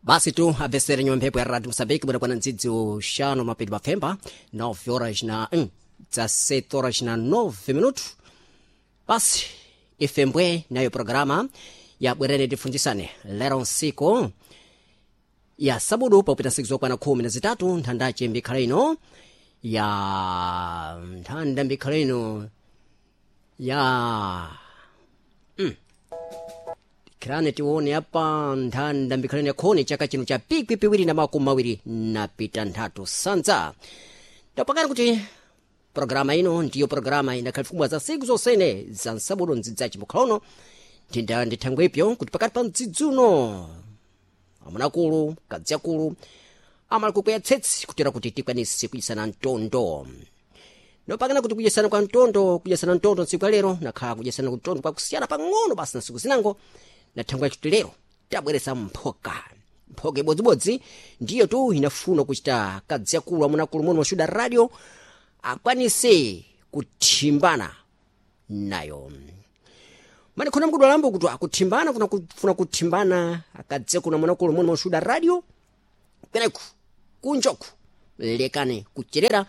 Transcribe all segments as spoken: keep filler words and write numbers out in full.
Basi tu abvesere nyuma mphepo ya Radio Mosambiki bwana ndzidzi uxano mapedi mapfemba nove horas na mm, dezessete horas na nove minutos. Basi ifembwe nayo programa ya bwerene tifunzisane lero nsiku ya sabudu paupita nsiku zokwana khumi na zitatu nthandace mbikhala ino ya nthanda mbikhala ino ya mm. Kirane tione apa nthanda mbikhalani yakhoni chaka chino cha pikwi piwiri na makumi mawiri na pita nthatu sanza ndapakani kuti programa ino ndiyo programa inakhalifumwa za siku zonsene za nsabudu ndzidzaci mukhala uno ndinda ndithangwe ipyo kuti pakati pa mdzidzuno amunakulu kadziakulu amali kukweya tsetsi kutera kuti tikwanise kudyisana mtondo nopakana kuti kudyesana kwa mtondo kudyesana mtondo ntsiku ya lero nakhala kudyesana mtondo kwakusiyana pang'ono basi na nsiku zinango na thangwe yakuti lero tabweresa mphoka mphoka ibodzibodzi ndiyo tu inafuna kuchita kadziakulu amunakulu muno mashuda radio akwanise kuthimbana nayo mani khona mkudwalambo kuti akuthimbana kuna kufuna kuthimbana akadziakulu amunakulu muno mashuda radio kweneku kunjoku lekane kucherera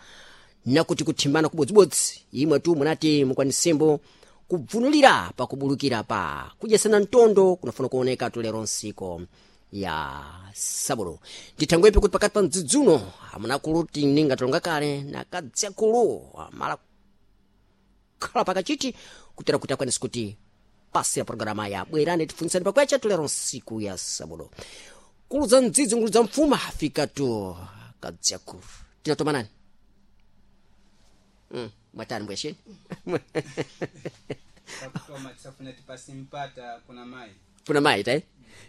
nakuti kuthimbana kubodzibodzi imwe tu munati mukwanisembo kubvunulira pakubulukira pa kudyesana mtondo kunafuna kuoneka tulero nsiko ya sabulo ndithangwepi kuti pakati pa mdzidzuno amunakulu tininga tulonga kale nakadziakulu amala khala pakachiti kutera kuti akwanise kuti pasira programa ya bwerani tifunitsani pakwecha tulero nsiku ya sabulo kulu za mdzidzi ngulu za mfuma afika tu kadziakulu tinatomanani Mm, mwatani mbwesheni pakutoma tisafuna tipasimpata kuna mayi kuna mayi tai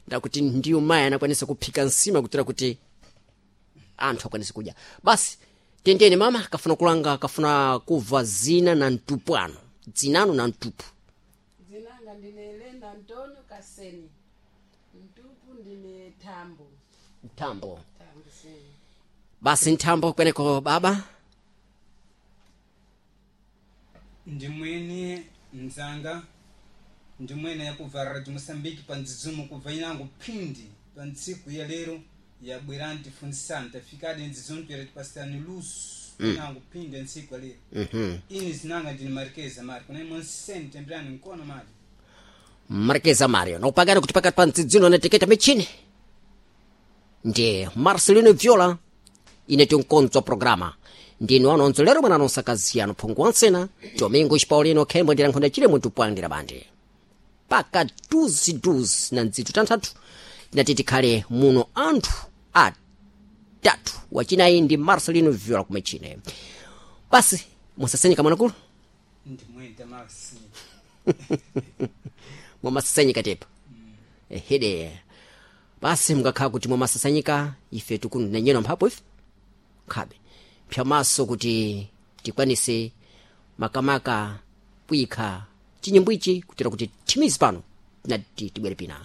ndakuti ndiyo mayi anakwanisa kuphika nsima kutera kuti anthu akwanise kudya basi tendeni mama kafuna kulanga kafuna kubva zina na mtupu ano dzinano na mtupu Dzinanga ndine Elena Antonio Kaseni. Mtupu ndine Tambo. mthambo Tambo seni. basi nthambo kweneko baba ndimwene mzanga ndimwene yakubva radio Mosambiki pa ndzidzumo kubva inango phindi pa ntsiku ya lero yabwerani tifunzisani tafikadi ndzidzumo toera tipasirani luso inango phindi ya ntsiku ya lero mm-hmm. ini zinanga ndine marikeza mari kuna imwe nseni temberani mkono mari markeza mario nokupakana kuti pakati pa mdzidzino anateketa michini ndi marcelino viola ine tinkonzwa programa ndinu anonzo lero mwana anonsakaziyano phungu wansena domingo chipaulino khembo ndira nkhonda chile munthu pwandira bandi paka duziduzi na ndzithu tanthatu tinati tikhale muno anthu atatu wachinayi ndi marcelino viola kumechine basi musasenyeka mwanakulu ndimwene tamasi mwamasasanyika tepa ehede basi mukakhala kuti mwamasasanyika ife tikunenyenwa mphapo ife khabe pyamaso kuti tikwanise makamaka kuyikha chinyimbo ichi kutera kuti thimizi pano tinati tibwere pina.